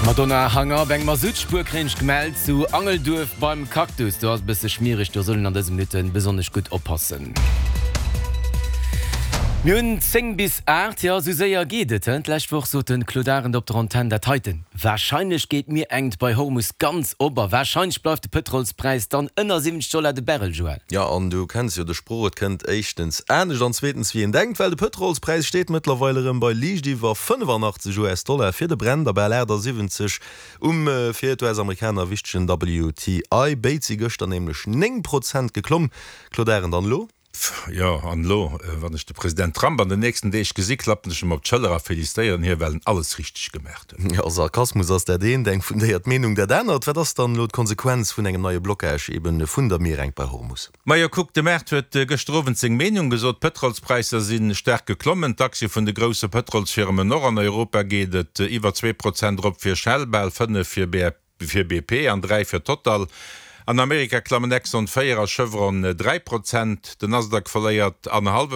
Madonna Hang Up, eng Masuttspuer kréien ech gemellt zu Angelduerf beim Cactus. Do ass e bësse schmiereg, do soll een an dëse Minutte besonnesch gutt oppassen. Mir hunn 10 bis 8, jo esou séier geet et, he? D'lescht Woch sot de Claude Arend op der Antenn dat heiten, Warscheinlech geet d'Mier enkt bei Hormus ganz op a warscheinlech bleift de Pëtrolspräis dann ënner 70 Dollar de Barrel, Joël. Jo, an du kenns jo de Sproch, et kënnt éischtens anescht an zweetens wéi een denkt, well de Pëtrolspräis steet mëttlerweil erëm bei liicht iwwer 85 US-Dollar fir de Brent a bal 78 um fir d'US-Amerikaner wichtegen WTI. Béid si gëschter nämlech 9 Prozent geklomm. Claude Arend, an elo? Pff, jo, an elo, wann ech de President Trump an den nächsten Deeg gesi, klappen ech em op d'Schëller a felicitéieren hie, well en alles richteg gemaacht huet. Jo, Sarkasmus ass dat eent, eng fundéiert Meenung dat anert. Wat ass dann elo d'Konsequenz vun engem neie Blockage eben vun der Mierengt bei Hormus? Majo, kuck, de Maart huet gëschter Owend seng Meenung gesot. D'Pëtrolspräisser si staark geklommen, d'Aktie vun de grousse Pëtrolsfirmen och. An Europa geet et iwwer 2% erop fir Shell, bal 5 fir fir BP an 3 fir Total. An Amerika klammen Exxon 4 a Chevron 3 Prozent. Den Nasdaq verléiert annerhallwe.